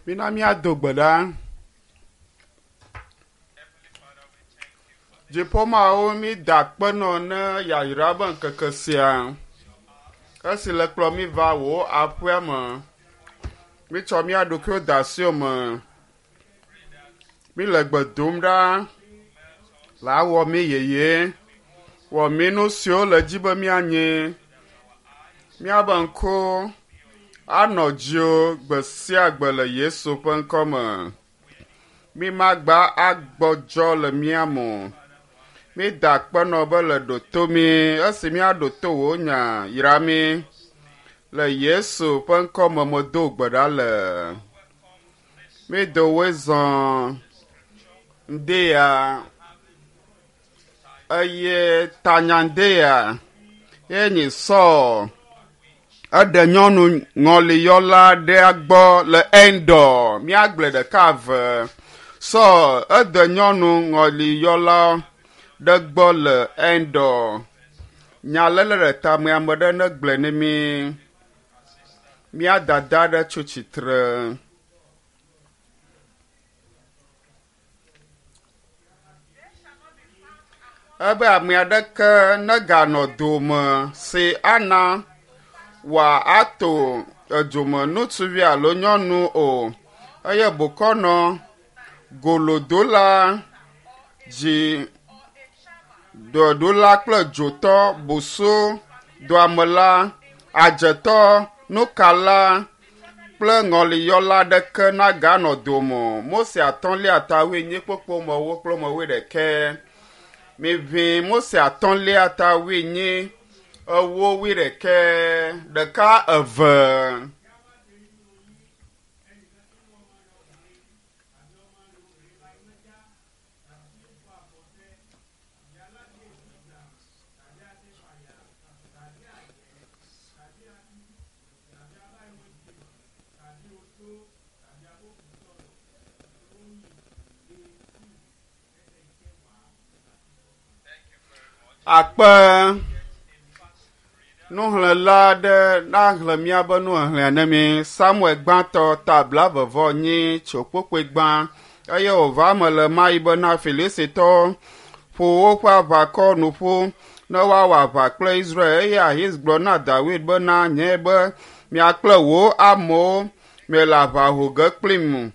Mina míado gbe ɖa. Dziƒomawu mída akpe nɔ ne yayra be ŋkeke sia. Esi le kplɔ mí va wò aƒea me. Mítsɔ mía ɖokuiwo de asiwò me. Míle gbe dom ɖa le awɔ mí yeye. Wɔ mí nu siwo le dzi be míanyi. Míabe ŋku anɔ dziwò gbe sia gbe le Yesu ƒe ŋkɔ me. Mímagba agbɔdzɔ le mía me o. Mída akpe nɔ be le ɖo to mí esi míaɖo to wò nya yra mí. Le Yesu ƒe ŋkɔ me medo gbe ɖa le. Mído woe zɔ ŋdeya eye tanya ŋdeya ye nyi Saul eɖe nyɔnu ŋɔliyɔla ɖea gbɔ le Endor. Míagblɔe ɖeka eve. Saul ede nyɔnu ŋɔliyɔla ɖe gbɔ le Endor. Nya lele ɖe tame ame ɖe negblɔe ne mí. Mía dada ɖe tso tsitre. Ebe ame aɖeke neganɔ dome si ana wòato edome ŋutsuvi alo nyɔnu o eye bokɔnɔ, golodola, dzi dɔɖola kple dzotɔ, boso, doamela, adzetɔ, nukala kple ŋɔliyɔla aɖeke naganɔ dome o. Mose atɔ̃lia ta wuienyi kpokpo mewo kple me wuiɖekɛ. Miʋĩ Mose atɔ̃lia ta wuienyi ewo wuiɖekɛ ɖeka eve. Akpe nuxlẽla aɖe naxlẽ míaƒe nuxexlẽa ne mí. Samuel gbãtɔ ta blaeve vɔ enyi tso kpokpoe gbã eye wòva eme le mayi bena Filistitɔwo ƒo woƒe aʋakɔ nu ƒu ne woawɔ aʋa kple Israel eye Ahis gblɔ na Dawid bena nye be mia kple wò amewo miele aʋa ho ge kplim.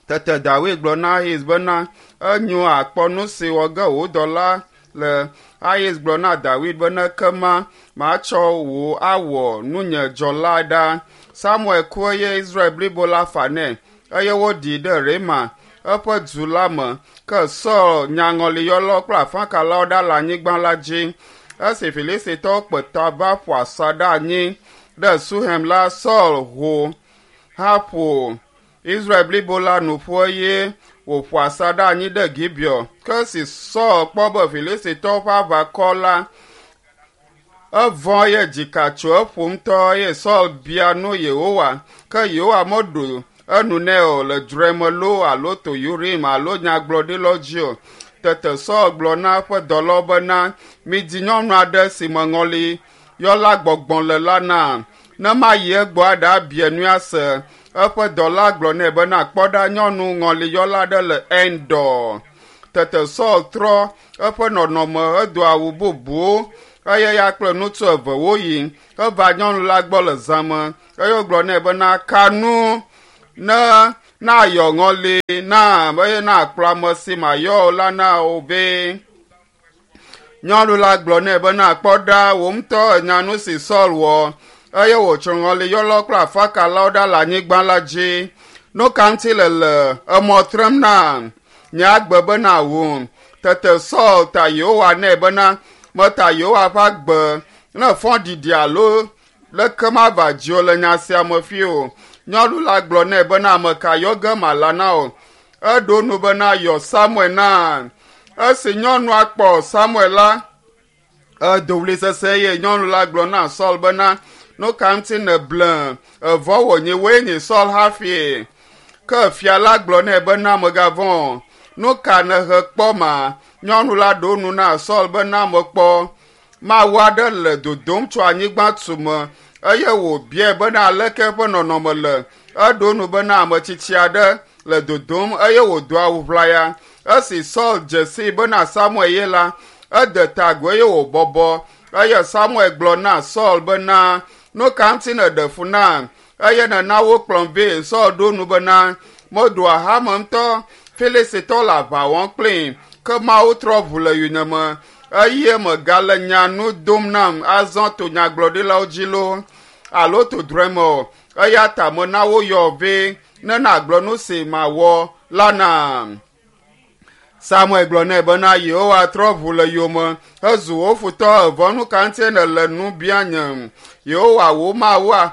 Tete Dawid gblɔ na Ahis bena enyo akpɔ nu si wɔ ge wò dɔla le. Ahis gblɔ na Dawid bena ekema matsɔ wò awɔ nunye dzɔla ɖa. Samuel ku eye Israel blibo la fa nɛ eye woɖii ɖe Rema, eƒe du la me. Ke Saul nyaŋɔliyɔlawo kple afakalawo ɖa le anyigba la dzi. Esi Filistitɔwo kpe ta va ƒo asaɖa anyi ɖe Suhem la, Saul ho hã ƒo Israel blibo la nu ƒu eye wòƒo asaɖa anyi ɖe Gibeon. Ke esi Saul kpɔ be Filistitɔwo ƒe aʋakɔ la evɔ̃ eye dzika tso eƒo ŋutɔ eye Saul bia nu Yehowa. Ke Yehowa meɖo enu nɛ o le dzre me loo alo to Urim alo nyagblɔɖilawo dzi o. Tete Saul gblɔ na eƒe dɔlawo bena, midi nyɔnu aɖe si me ŋɔli yɔla gbɔgbɔ le la nam, ne mayi egbɔ aɖe abia nui ase. Eƒe dɔla gblɔ nɛ bena, kpɔ ɖa nyɔnu ŋɔliyɔla aɖe le Endor. Tete Saul trɔ eƒe nɔnɔme hedo awu bubuwo eye ya kple ŋutsu eve woyi. Eva nyɔnu la gbɔ le zã me eye wogblɔ nɛ bena, ka nu ne nayɔ ŋɔli nam eye nakplɔ ame si mayɔ o la na wò vɛ. Nyɔnu la gblɔ nɛ bena, kpɔ ɖa, wò ŋutɔ ènya nu si Saul wɔ eye wòtsrɔ̃ ŋɔliyɔlawo kple afakalawo ɖa le anyigba la dzi. Nu ka ŋuti le le emɔ trem na nye agbe bena wum? Tete Saul ta Yehowa nɛ bena, meta Yehowa ƒe agbe ne fɔɖiɖi alo leke mava dziwò le nya sia me fi o. Nyɔnu la gblɔ nɛ bena, ame ka yɔ ge mala na wò? Eɖo nu bena, yɔ Samuel na. Esi nyɔnua kpɔ Samuel la, edo ɣli sesẽ eye nyɔnu la gblɔ na Saul bena, nu ka ŋuti nèble evɔ wònye woe nye Saul hafi? Ke fia la gblɔ nɛ bena, mègavɔ̃ o. Nu ka nèhe kpɔ ma? Nyɔnu la ɖo nu na Saul bena, mekpɔ Mawu aɖe le dodom tso anyigba tume. Eye wòbiae bena aleke eƒe nɔnɔme le. Eɖo nu bena ame tsitsi aɖe le dodom eye wòdo awu ʋlaya. Esi Saul dze sii bena Samuel ye la, ede ta agu eye wòbɔbɔ. Eye Samuel gblɔ na Saul bena, Nu ka ŋuti nèɖe fu nam eye nèna wokplɔm vɛ? Saul ɖo nu bena, Meɖo ahame ŋutɔ, Filistitɔ le aʋa wɔm kplim, ke Mawu trɔ ʋu le yonyeme eye megale nya nu dom nam azɔ to nyagblɔɖilawo dzi loo alo to drɔ̃e me o. Eya ta mena woyɔ vɛ ne nàgblɔ nu si mawɔ la nam. Samuel gblɔ nɛ bena Yehowa trɔ ʋu le yome hezu wò futɔ evɔ nu ka ŋutie nèle nu bia nyem? Yehowa wò Mawua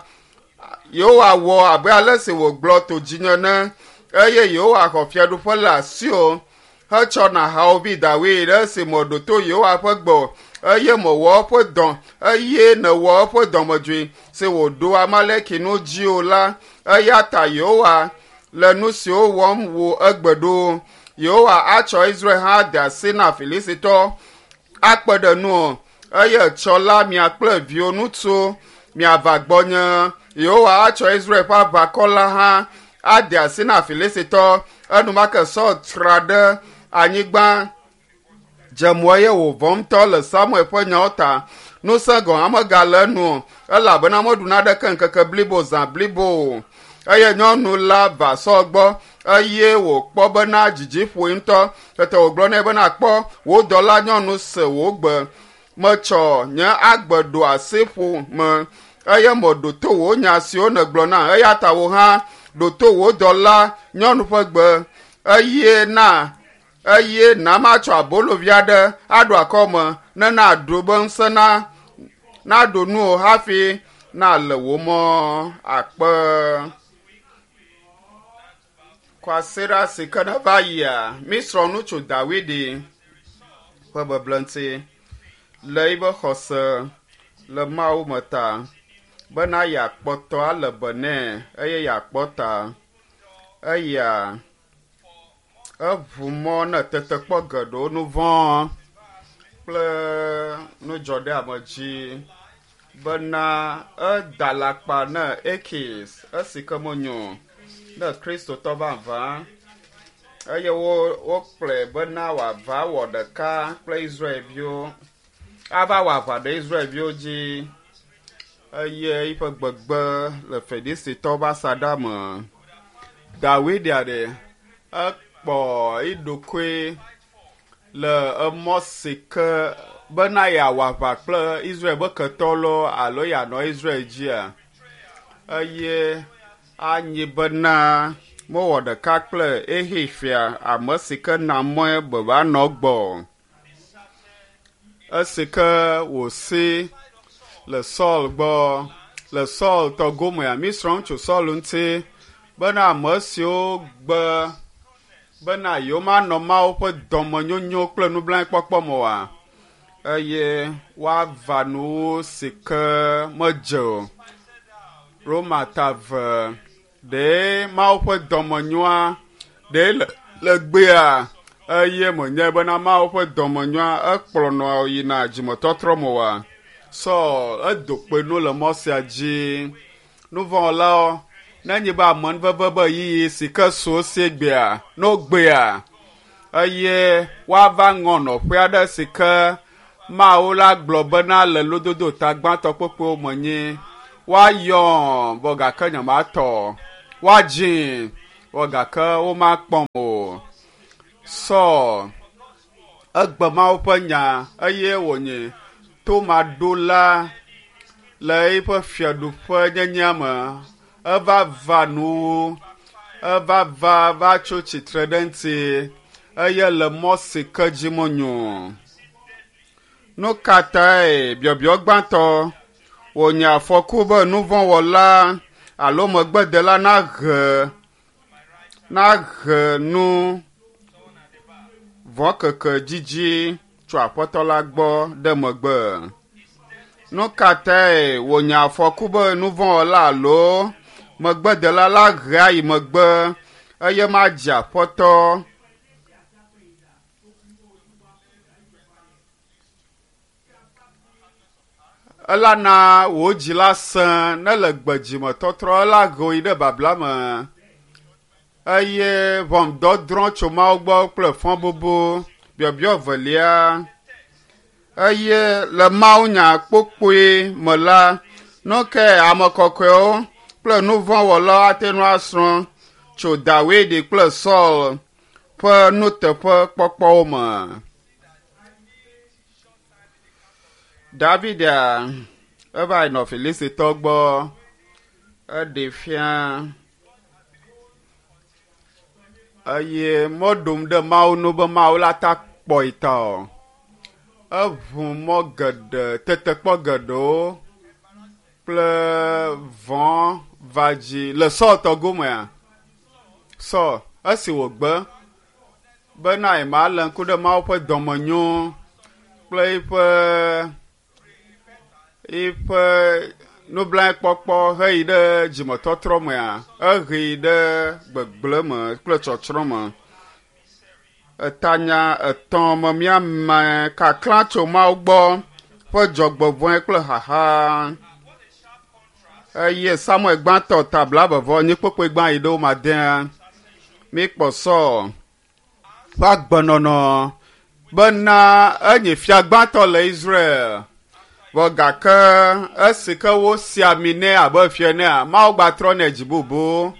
Yehowa wɔ abe ale si wògblɔ to dzinye ene eye Yehowa xɔ fiaɖuƒe le asiwò hetsɔ na hawòvi Dawid ɖe esi mèɖo to Yehowa ƒe gbe o eye mèwɔ eƒe dɔ eye nèwɔ eƒe dɔmedzoe si wòɖo Amaleki nu dzi o la eya ta Yehowa le nu siwo wɔm wò egbe ɖo. Yehowa atsɔ Israel hã de asi na Filistitɔ akpe ɖe nuwò, eye etsɔ la mia kple viwò ŋutsuwo miava gbɔnye. Yehowa atsɔ Israel ƒe aʋakɔ la hã ade asi na Filistitɔ. Enumake Saul tra ɖe anyigba dze mo eye wòvɔ̃ ŋutɔ le Samuel ƒe nyawo ta. Ŋusẽ gɔ̃ hã megale enu o, elabena meɖu naneke ŋkeke blibo zã blibo o. Eye nyɔnu la va Saul gbɔ eye wòkpɔ bena dzidzi ƒoe ŋutɔ. Tete wògblɔ nɛ bena, Kpɔ, wò dɔlanyɔnu se wò gbe. Metsɔ nye agbe ɖo asi ƒo me eye meɖo to wò nya siwo nègblɔ nam. Eya ta wò hã ɖo to wò dɔlanyɔnu ƒe gbe eye na eye na matsɔ abolo vi aɖe aɖo akɔme ne naɖu be ŋusẽ na naɖo nuwò hafi nale wò mɔ akpe. Kwasiɖa si ke neva yia, mísrɔ̃ nu tso Dawidi ƒe beble ŋuti le eƒe xɔse le Mawu me ta bena yeakpɔtɔ ale be nɛ eye yeakpɔ ta. Eya Eʋu mɔ ne tetekpɔ geɖewo, nu vɔ̃ kple nudzɔɖeamedzi bena eda alakpa ne Akis esi ke menyo ne Kristotɔ vavã eye wo wokplɔe bena wòava wɔ ɖeka kple Israelviwo ava wɔ aʋa ɖe Israelviwo dzi eye eƒe gbegbe le Filistitɔwo ƒe asaɖa me. Dawid ɖe ekpɔ eɖokui le emɔ si ke bena yeawɔ aʋa kple Israel ƒe ketɔ loo alo yeanɔ Israel dzia? Eye anyi bena mewɔ ɖeka kple Ehi fia, ame si ke na mɔe be wòanɔ egbɔ o. Esi ke wòsi le Saul gbɔ le Saul tɔ gomea, mísrɔ̃ nu tso Saul ŋuti bena ame siwo gbe bena yewomanɔ Mawu ƒe dɔmenyonyo kple nublanuikpɔkpɔ me oa, eye woava nuwo si ke medze o. Roma ta ve Ɖe Mawu ƒe dɔmenyoa ɖe le le gbea eye menyae bena Mawu ƒe dɔmenyoa ekplɔnɔ yina dzimetɔtrɔ me oa? Saul edo kpe nu le mɔ sia dzi. Nuvɔ̃wɔlawo, nenye be amenuveve be ɣeyiɣi si ke su wo si egbea, ne wogbea, eye woava ŋɔ nɔƒe aɖe si ke Mawu la gblɔ bena le lododo ta gbãtɔ kpokpoewo me nyi, Woayɔm, vɔ gake nyematɔ o. Woadzim, vɔ gake womakpɔm o. Saul egbe Mawu ƒe nya eye wònyi tomaɖola le eƒe fiaɖuƒe nyenyea me. Eva va nuwo, eva va va tso tsitre ɖe eŋuti eye le mɔ si ke dzi menyo o. Nu ka tae biɔbiɔ gbãtɔ wònye afɔku be nuvɔ̃wɔla alo megbedela nahe nahe nu vɔ̃ keke dzidzi tso Aƒetɔ la gbɔ ɖe megbe? Nu ka tae wònye afɔku be nuvɔ̃wɔla alo megbedela la hea yi megbe eye madze Aƒetɔ Ela na wò dzi la sẽ ne le gbedzimetɔtrɔ ela he wò yi ɖe babla me eye ʋɔnudɔdrɔ̃ tso Mawu gbɔ kple fɔbubu biɔbiɔ velia eye le mawunya kpokpoe me la nu ke ame kɔkɔewo kple nu vɔ̃ wɔlawo ate ŋu asrɔ̃ tso Dawidi kple Saul ƒe nuteƒekpɔkpɔwo me. Davidia eva yi nɔ Filistitɔ gbɔ eɖe fia eye meɖom ɖe Mawu nu be Mawu la ta kpɔe ta o. Eʋu mɔ geɖe, tetekpɔ geɖewo kple vɔ̃ va dzi le Saul tɔ gomea. Saul esi wògbe bena yemalé ŋku ɖe Mawu ƒe dɔmenyo kple eƒe eƒe nublanuikpɔkpɔ heyi ɖe dzimetɔtrɔ mea, ehee ɖe gbegblẽ me kple tsɔtsrɔ̃ me. Etanya etɔ̃ me míame kaklã tso Mawu gbɔ ƒe dzɔgbevɔ̃e kple xaxa. Eye Samuel gbãtɔ ta blaeve vɔ enyi kpokpoe gbã yi ɖe wo madea. Míkpɔ Saul ƒe agbenɔnɔ bena enye fia gbãtɔ le Israel. Vɔ gake esi ke wosi ami nɛ abe fia enea, Mawu gbatrɔ nɛ dzi bubu.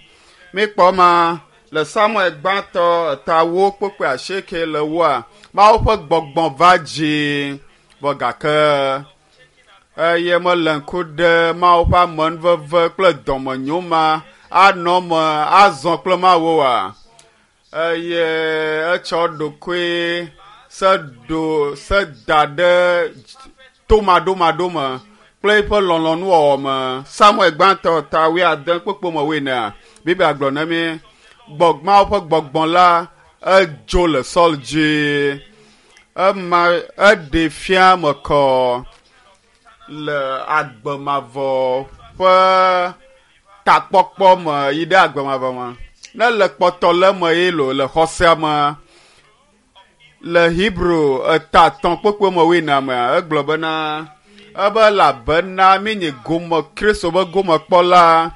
Míkpɔ ma le Samuel gbãtɔ eta wo kpokpoe asieke le woa, Mawu ƒe gbɔgbɔ va dzi. Vɔ gake eye mele ŋku ɖe Mawu ƒe amenuveve kple dɔmenyo ma anɔ eme azɔ kple Mawu oa? Eye etsɔ ɖokoe se ɖo se da ɖe tomaɖomaɖo me kple eƒe lɔlɔ̃nuwɔwɔ me. Samuel gbãtɔ ta wuiade kpukpui me wuienea, Biblia gblɔ na mí gbɔ Mawu ƒe gbɔgbɔ la edzo le Saul dzi. Ema eɖee fia me kɔ le agbe mavɔ ƒe takpɔkpɔ me yi ɖe agbe mavɔ me. Ne le kpɔtɔ le eme ye lo le xɔsea me le Hebrew eta etɔ̃ kpokpo me wuiene mea, egblɔ bena ebe elabena míenye gome Kristo ƒe gomekpɔla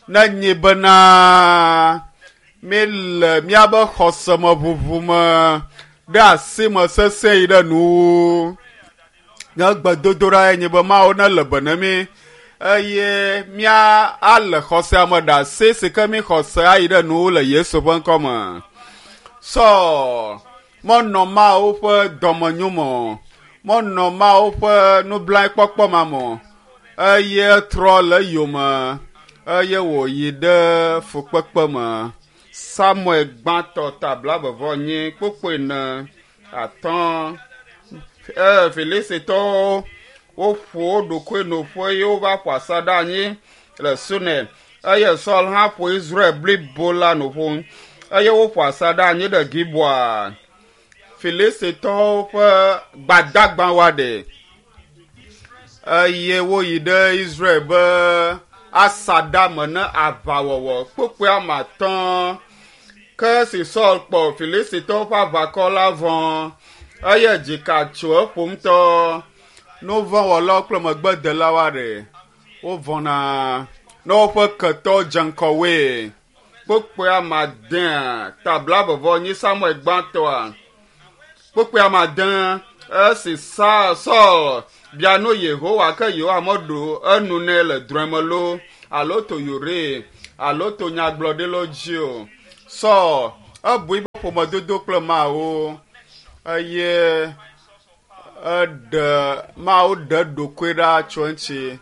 ne nye bena míele míaƒe xɔse me ʋuʋu me ɖe asi me sesẽ yi ɖe nuwuwu. Nye gbedodoɖa ye nye be Mawu nele be ne mí eye mía ale xɔsea me ɖe asi si ke mí xɔse ayi ɖe nuwuwu le Yesu ƒe ŋkɔ me. Saul menɔ Mawu ƒe dɔmenyo me o, menɔ Mawu ƒe nublanuikpɔkpɔ ma me o eye etrɔ le eyome eye wòyi ɖe fukpekpe me. Samuel gbãtɔ ta blaeve vɔ enyi kpukpui ene atɔ̃. Eye Filistitɔwo woƒo wo ɖokui nu ƒu eye wova ƒo asaɖa anyi le Sunem. Eye Saul hã ƒo Israel blibo la nu ƒu eye woƒo asaɖa anyi ɖe Gibeon. Filistitɔwo ƒe gbadagbawoa ɖe eye woyi ɖe Israel be asaɖa me ne aʋawɔwɔ kpukpui ame atɔ̃. Ke esi Saul kpɔ Filistitɔwo ƒe aʋakɔ la vɔ, eye dzika tso eƒo ŋutɔ. Nu vɔ̃ wɔlawo kple megbedelawoa ɖe, wovɔ̃na ne woƒe ketɔwo dze ŋgɔ woe. Kpukpui ame adea, ta blaeve vɔ enyi Samuel gbãtɔa. Kpukpui ame ade, esi Saul bia nu Yehowa ke Yehowa meɖo enu nɛ le drɔ̃e me loo alo to Uri alo to nyagblɔɖilawo dzi o. Saul ebu eƒe ƒomedodo kple Mawu eye eɖe Mawu ɖe ɖokui ɖa tso eŋuti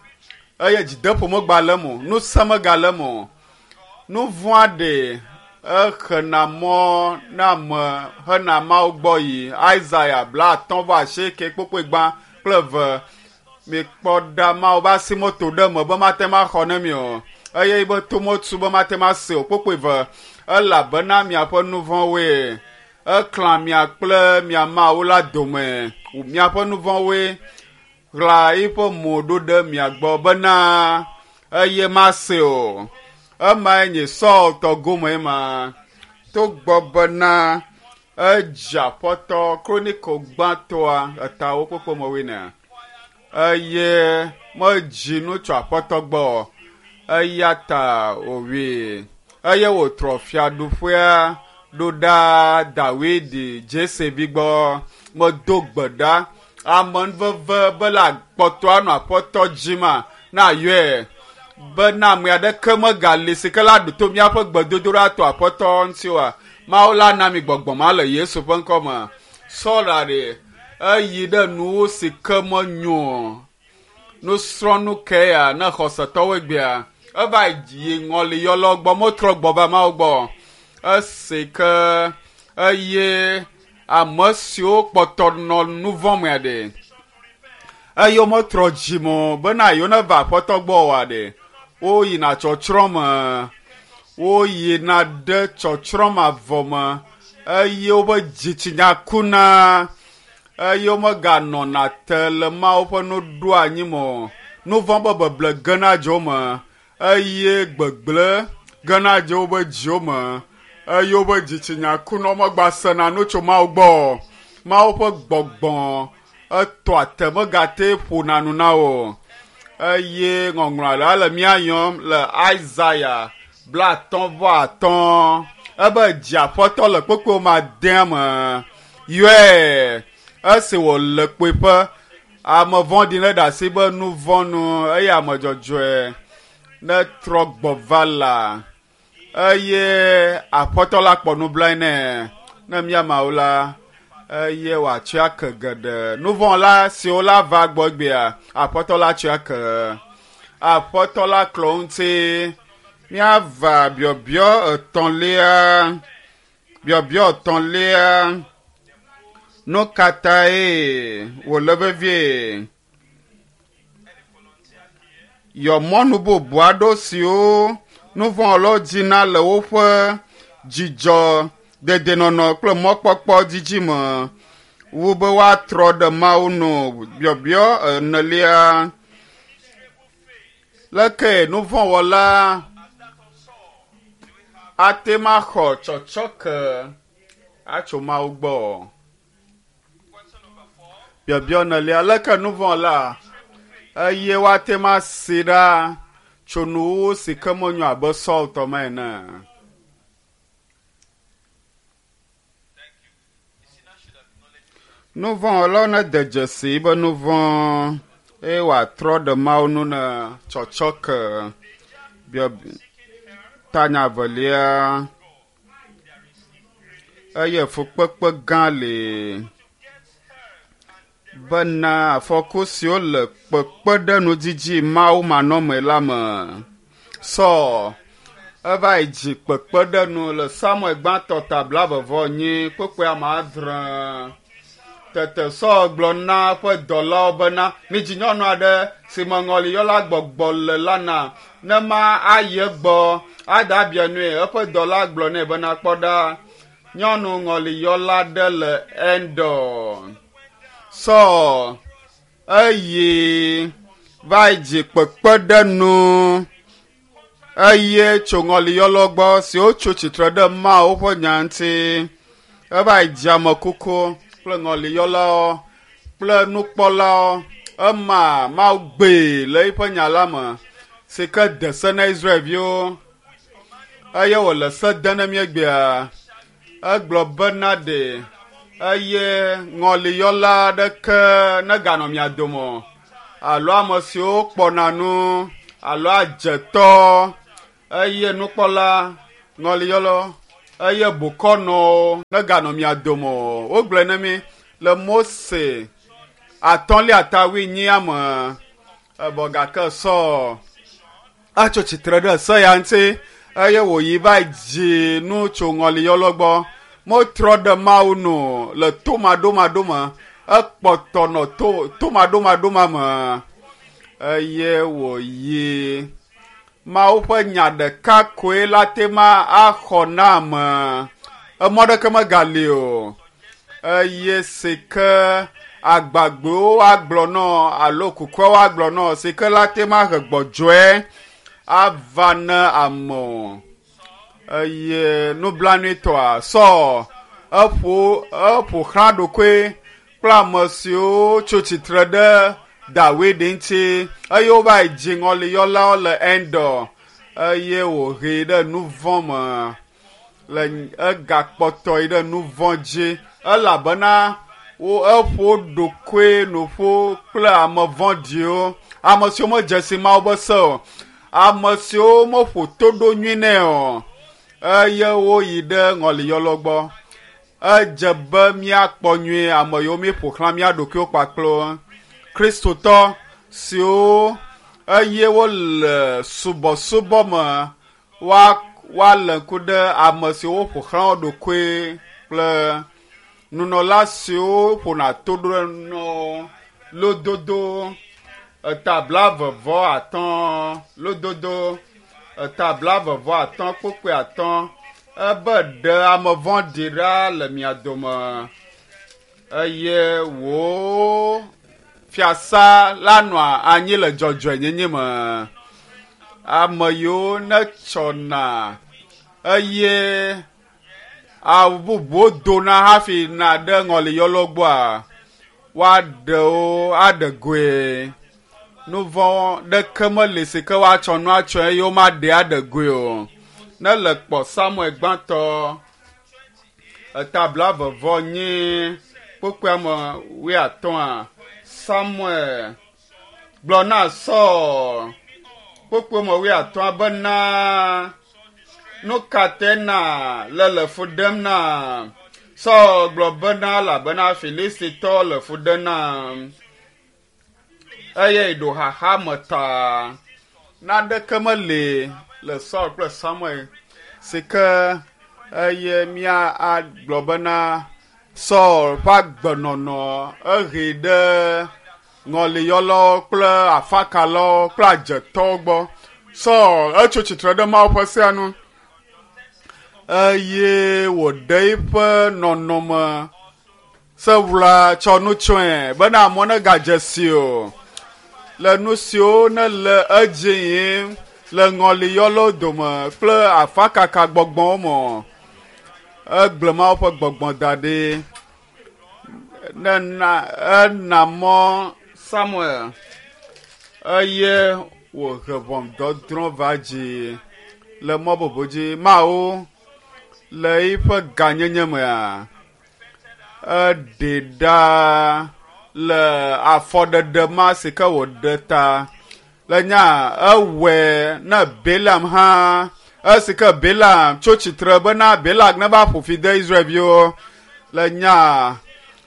eye dzideƒo megale eme o, ŋusẽ megale eme o. Nu vɔ̃a ɖe exena mɔ na ame hena Mawu gbɔ yi. Isaya blaatɔ̃ vɔ asieke kpokpoe gbã kple eve. Mikpɔ ɖa Mawu be asi moto ɖe eme be mate ŋu axɔ ne mi o eye yibe to motu be mate ŋu ase o kpokpoe eve elabena miaƒe nu vɔ̃woe eklã mia kple mia Mawu la dome. Miaƒe nu vɔ̃woe ɣla eƒe mo ɖo ɖe mia gbɔ bena eye mase o. Emae nye Saul tɔ gome ma. Togbɔ bena edze aƒetɔ Kroniko gbãtɔa etawo kpokpo me wuienea eye Medzi nu tso Aƒetɔ gbɔ o, eya ta wòwui. Eye wòtrɔ fiaɖuƒea ɖo ɖa Dawidi Jese vi gbɔ. Medo gbe ɖa amenuveve be la kpɔtɔ anɔ Aƒetɔ dzi ma na yɔe bena ame aɖeke megali si ke la ɖo to míaƒe gbedodoɖa to Aƒetɔ ŋuti oa. Mawu la na mi gbɔgbɔ ma le Yesu ƒe ŋkɔ me. Saul ɖe eyi ɖe nuwo si ke menyo o. Nusrɔ̃nu ke ya ne xɔsetɔwo egbea eva yi ŋɔliyɔlawo gbɔ metrɔ gbɔ va Mawu gbɔ. Esi ke eye ame siwo kpɔtɔ nɔ nu vɔ̃ mea ɖe eye wometrɔ dzime o bena yewo neva Aƒetɔ gbɔ oa ɖe woyina tsɔtsrɔ̃ me. Woyina ɖe tsɔtsrɔ̃ mavɔ me eye woƒe dzitsinya kuna eye womeganɔna te le Mawu ƒe nuɖoanyi me o. Nu vɔ̃ be beble gena dze wo me eye gbegble gena dze woƒe dziwo me eye woƒe dzitsinya kuna womegbasena nu tso Mawu gbɔ o. Mawu ƒe gbɔgbɔ etɔa te megate ƒona nu na wo o. Eye ŋɔŋlɔ la le mía yɔm le Isaya 55. Ebe dzi Aƒetɔ le kpekpewo ma dea me. Yɔe esi wòle kpuiƒe. Ame vɔ̃ɖi neɖe asi be nu vɔ̃ nu eye ame dzɔdzɔe netrɔ gbɔ va la. Eye Aƒetɔ la kpɔ nublanui nɛ ne mía Mawu la eye wòatsɔe ake geɖe. Nu vɔ̃ la siwo la va gbɔ egbea, Aƒetɔ la tsɔe ake. Aƒetɔ la klɔ ŋuti. Míava biɔbiɔ etɔ̃lia. Biɔbiɔ etɔ̃lia. Nu ka tae wòle vevie? Yɔ mɔnu bubu aɖewo siwo nu vɔ̃ dina le woƒe dzidzɔ, dedienɔnɔ kple mɔkpɔkpɔ didi me wu be woatrɔ ɖe Mawu nu. Biɔbiɔ enelia. Leke nu vɔ̃ wɔla ate ŋu axɔ tsɔtsɔke atso Mawu gbɔ? Biɔbiɔ enelia. Leke nu vɔ̃ la eye woate ŋu asi ɖa tso nuwuwu si ke menyo abe Saul tɔ me ene? Nu vɔ̃ wɔlawo nede dzesi be nu vɔ̃ eye wòatrɔ ɖe Mawu nu ne tsɔtsɔke. Biɔ tanya evelia eye fukpekpe gã li bena afɔku siwo le kpekpeɖeŋudidi Mawu manɔmee la me. Saul eva yi dzi kpekpeɖeŋu le Samuel gbãtɔ ta blaeve-vɔ-enyi kpukpui ame adre. Tete Saul gblɔ na eƒe dɔlawo bena, midzi nyɔnu aɖe si me ŋɔliyɔla gbɔgbɔ le la na, ne ma ayi egbɔ aɖe abia nui. Eƒe dɔla gblɔ nɛ bena, kpɔ ɖa, nyɔnu ŋɔliyɔla aɖe le Endor. Saul eyi va yi dzi kpekpeɖeŋu eye tso ŋɔliyɔlawo gbɔ siwo tso tsitre ɖe Mawu ƒe nya ŋuti. Eva yi dzi ame kuku kple ŋɔliyɔlawo kple nukpɔlawo. Ema Mawu gbee le eƒe nya la me si ke de se na Israelviwo eye wòle se dem na mí egbea. Egblɔ bena ɖe eye ŋɔliyɔla aɖeke neganɔ mia dome o alo ame siwo kpɔna nu alo adzetɔ eye nukpɔla ŋɔliyɔla eye bokɔnɔwo neganɔ mia dome o. Wogblɔe na mí le Mose atɔ̃lia ta wuinyia me evɔ gake Saul etso tsitre ɖe se ya ŋuti eye wòyi va dzi nu tso ŋɔliyɔlɔ gbɔ. Metrɔ ɖe Mawu nu le tomaɖomaɖo me. Ekpɔtɔ nɔ to tomaɖomaɖo ma me eye wòyi. Mawu ƒe nya ɖeka koe la te ma axɔ na ame. Emɔ ɖeke megali o. Eye si ke agbagbewo agblɔ nɔ alo kukuawo agblɔ nɔ si ke la te ma he gbɔdzɔe ava ne ame o. Eye nublanuitɔa Saul eƒo eƒo xlã ɖokoe kple ame siwo tso tsitre ɖe Dawid ŋuti eye wova yi dzi ŋɔliyɔlawo le Endor eye wòhee ɖe nu vɔ̃ me le egakpɔtɔ yi ɖe nu vɔ̃ dzi elabena wo eƒo ɖokoe nuƒo kple ame vɔ̃ɖiwo, ame siwo medze si Mawu be se o, ame siwo meƒo to ɖo nyui nɛ o eye woyi ɖe ŋɔliyɔlawo gbɔ. Edze be míakpɔ nyuie ame yiwo míeƒo xlã mía ɖokuiwo kpakple wo. Kristotɔ siwo eye wole subɔsubɔ me woa woalé ŋku ɖe ame siwo ƒo xlã wo ɖokui kple nunɔla siwo ƒona to ɖo nɔ lododo eta blaeve-vɔ-atɔ̃ lododo eta blaeve-vɔ-atɔ̃ kpukpui atɔ̃ ebe ɖe ame vɔ̃ɖi ɖa le mia dome eye wò fiasa la nɔa anyi le dzɔdzɔenyenye me. Ame yiwo netsɔna eye awu bubuwo dona hafi na ɖe ŋɔliyɔlawo gbɔa, woaɖe wo aɖe goe. Nu vɔ̃ ɖeke meli si ke woatsɔ nu atsɔe eye womaɖe aɖe goe o. Ne le kpɔ Samuel gbãtɔ eta blaeve-vɔ-enyi kpukpuia me wuiatɔ̃a, Samuel gblɔ na Saul kpukpui me wuiatɔ̃a bena, Nu ka tae na le le fu ɖem na? Saul gblɔ bena, elabena Filistitɔ le fu ɖem nam eye ɖo xaxa me ta. Naneke meli le Saul kple Samuel si ke eye mía agblɔ bena Saul ƒe agbenɔnɔ ehee ɖe ŋɔliyɔlawo kple afakalawo kple adzetɔwo gbɔ. Saul etso tsitre ɖe Mawu ƒe sea nu eye wòɖe eƒe nɔnɔme sewla tsɔ nu tsɔe bena amewo negadze si o le nu siwo nele edzi yim le ŋɔliyɔlawo dome kple afakaka gbɔgbɔwo me. Egblẽ Mawu ƒe gbɔgbɔ da ɖi. Nena ena mɔ Samuel eye wòhe ʋɔnudɔdrɔ̃ va dzi le mɔ bubu dzi. Mawu le eƒe gãnyenye mea, eɖee ɖa le afɔɖeɖe ma si ke wòɖe ta. Le nya ewɔe ne Balaam hã esi ke Balaam tso tsitre bena Balak neva ƒo fi de Israelviwo. Le nya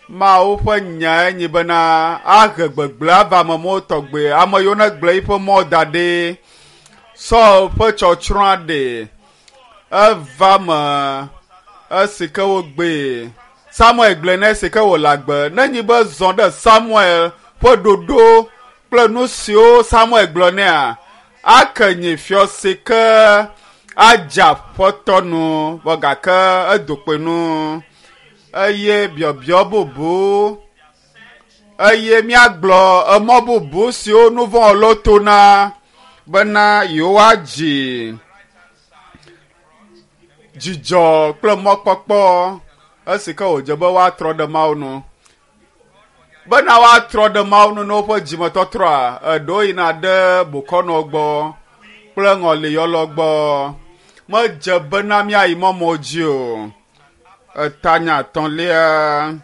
Mawu ƒe nyae nyi bena ahe gbegblẽ ava ame mawo tɔgbe, ame yiwo negblẽ eƒe mɔ da ɖi. Saul ƒe tsɔtsrɔ̃a ɖe eva me esi ke wogbee. Samuel gblɔe nɛ esi ke wòle agbe. Nenyi be zɔ ɖe Samuel ƒe ɖoɖo kple nu siwo Samuel gblɔ nɛa, ake nyi fiɔ si ke adze aƒetɔ nu vɔ gake edo kpoe nu. Eye biɔbiɔ bubu eye míagblɔ emɔ bubu siwo nu vɔ̃ wɔlawo tona bena yewoadzi dzidzɔ kple mɔkpɔkpɔ esi ke wòdze be woatrɔ ɖe Mawu nu. Bena woatrɔ ɖe Mawu nu ne woƒe dzimetɔtrɔa, eɖewo yina ɖe bokɔnɔ gbɔ kple ŋɔliyɔlɔ gbɔ. Medze bena míayi mɔmɔ dzi o. Etanya etɔ̃lia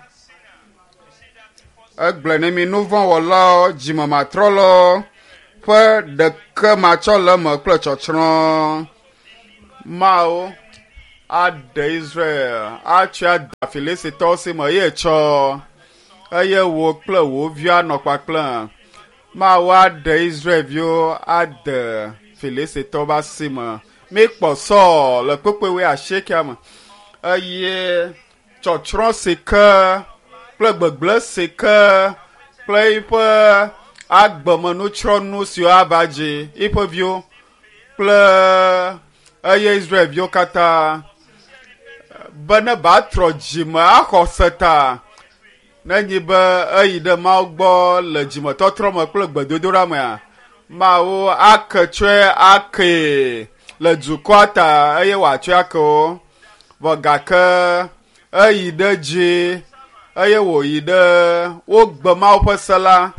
egblɔe ne mi nuvɔ̃wɔlawo, dzimematrɔlawo ƒe ɖeke matsɔ le eme kple tsɔtsrɔ̃. Mawu aɖe Israel atsɔe ada Filistitɔwo si me eye tsɔ eye wò kple wò viwo anɔ kpakple. Mawu aɖe Israelviwo ade Filistitɔwo ƒe asi me. Míkpɔ Saul le kpukpui wuiasiekea me eye tsɔtsrɔ̃ si ke kple gbegblẽ si ke kple eƒe agbemenutsrɔ̃nu siwo ava dzi eƒe viwo kple eye Israelviwo katã be ne batrɔ dzime axɔ se ta nenyi be eyi ɖe Mawu gbɔ le dzimetɔtrɔ me kple gbedodoɖa mea, Mawu ake tsɔe akee le dukɔa ta eye wòatsɔe ake wo. Vɔ gake eyi ɖe dzi eye wòyi ɖe wogbe Mawu ƒe se la.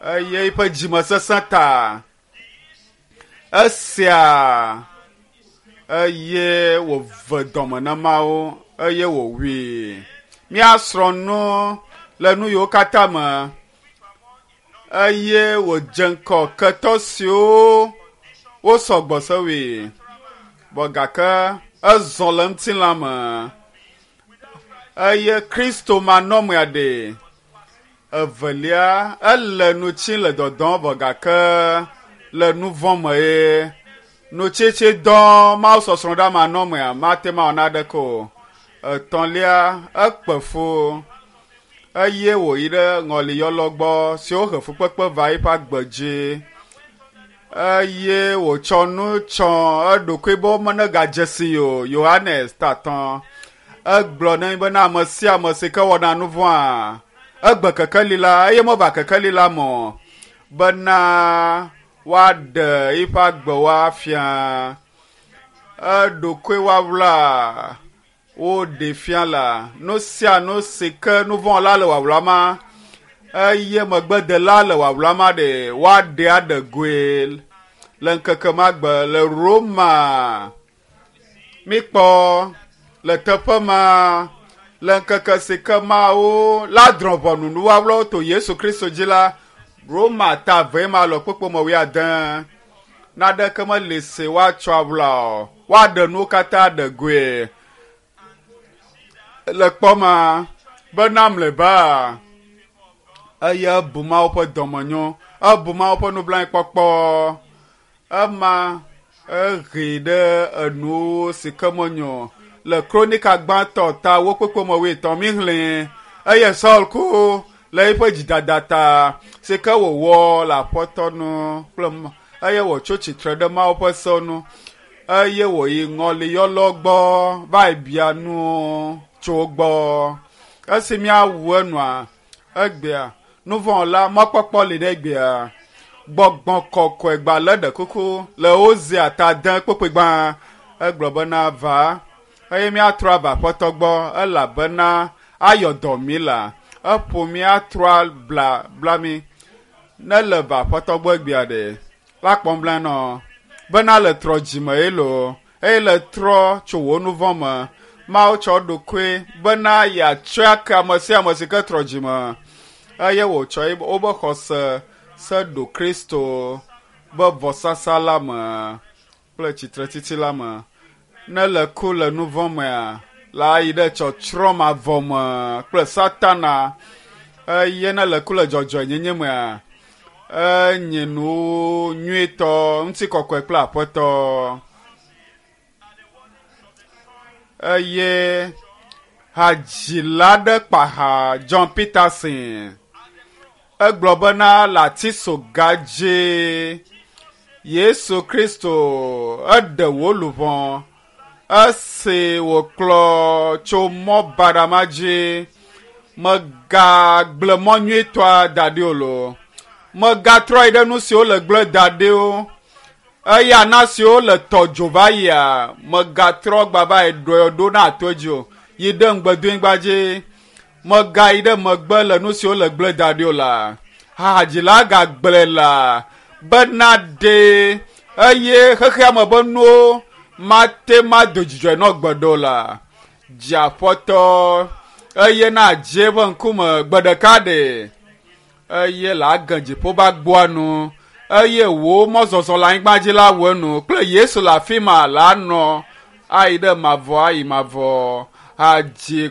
Eye eƒe dzimesesẽ ta esia eye wòve dɔme na Mawu eye wòwui. Míasrɔ̃ nu le nu yiwo katã me eye wòdze ŋkɔ ketɔ siwo wosɔ gbɔ sewui vɔ gake ezɔ le ŋutilã me eye Kristo manɔmea ɖe. Evelia, ele nu tsim le dɔdɔm vɔ gake le nu vɔ̃ me ye. Nutsitsi dɔ Mawu sɔsrɔ̃ ɖe manɔmea mate ŋu awɔ naneke o. Etɔ̃lia, ekpe fu eye wòyi ɖe ŋɔliyɔlɔ gbɔ si wohe fukpekpe va eƒe agbe dzi eye wòtsɔ nu tsɔ eɖokui be womenegadze si o. Yohanes tatɔ egblɔ na mi bena ame sia ame si ke wɔna nu vɔ̃a egbe kekeli la eye meva kekeli la me o bena woaɖe eƒe agbewo afia. Eɖokui woawla woɖe fia la nu sia nu si ke nu vɔ̃ la le wawla ma eye megbedela le wawla ma ɖe woaɖe aɖe goe le ŋkeke ma gbe le Roma. Mikpɔ le teƒe ma le ŋkeke si ke Mawu la drɔ̃ ʋɔnu nuwɔwlɔwo to Yesu Kristo dzi la, Roma ta eve ma le kpukpui me wuiade. Naneke meli si woatsɔ awla o. Woaɖe nuwo katã ɖe goe. Le kpɔ ma bena mlɔeba eye ebu Mawu ƒe dɔmenyo, ebu Mawu ƒe nublanuikpɔkpɔ. Ema ehee ɖe enu si ke menyo le Kronika gbãtɔ ta wo kpekpe me wuietɔ̃ míxlẽe eye Saul ku le eƒe dzidada ta si ke wòwɔ le Aƒetɔ nu kple eye wòtso tsitre ɖe Mawu ƒe sewo nu eye wòyi ŋɔliyɔlɔ gbɔ va yi bia nu tso wo gbɔ. Esi míawu enua, egbea nuvɔ̃wɔla mɔkpɔkpɔ li ɖe egbea. Gbɔgbɔ kɔkɔe gbalẽ ɖe kuku le Hosea ta de kpukpui gbã. Egblɔ bena va eye míatrɔ ava Aƒetɔ gbɔ elabena ayɔ dɔ mí la. Eƒo míatrɔ bla bla mí. Ne le va Aƒetɔ gbɔ egbea ɖe, la kpɔm bla nɔ bena le trɔ dzime ye lo eye le trɔ tso wò nu vɔ̃ me. Mawu tsɔ ɖokui bena yeatsɔe ake ame sia ame si ke trɔ dzime eye wòtsɔ wobe xɔse se ɖo Kristo be vɔsasa la me kple tsitretsitsi la me. Ne le ku le nu vɔ̃ mea, la yi ɖe tsɔtsrɔ̃ mavɔ me kple Satana eye ne le ku le dzɔdzɔenyenye mea, enye nu nyuitɔ, ŋutikɔkɔe kple Aƒetɔ. Eye hadzila aɖe kpa ha John Peterson. Egblɔ bena le atisoga dzi Yesu Kristo eɖe wò luʋɔ esi wòkplɔ tso mɔ baɖa ma dzi. Megagblẽ mɔ nyuitɔa da ɖi o loo. Megatrɔ yi ɖe nu siwo le gblẽ da ɖi o. Eya na siwo le tɔ dzo va yia, megatrɔ gba va yi ɖɔe ɖo na ato dzi o. Yi ɖe ŋugbedonyigba dzi. Megayi ɖe megbe le nu siwo le gblẽ da ɖi o la. Hadzila gagblẽ la bena ɖe eye xexea me be nuwo mate mado dzidzɔe nɔ gbe ɖo la. Dziaƒetɔ eye na dze eƒe ŋkume gbe ɖeka ɖe eye le age dziƒo be agboa nu eye wò mɔzɔzɔ le anyigba dzi la wɔ enu kple Yesu le afi ma la nɔ ayi ɖe mavɔ ayi mavɔ hadzi.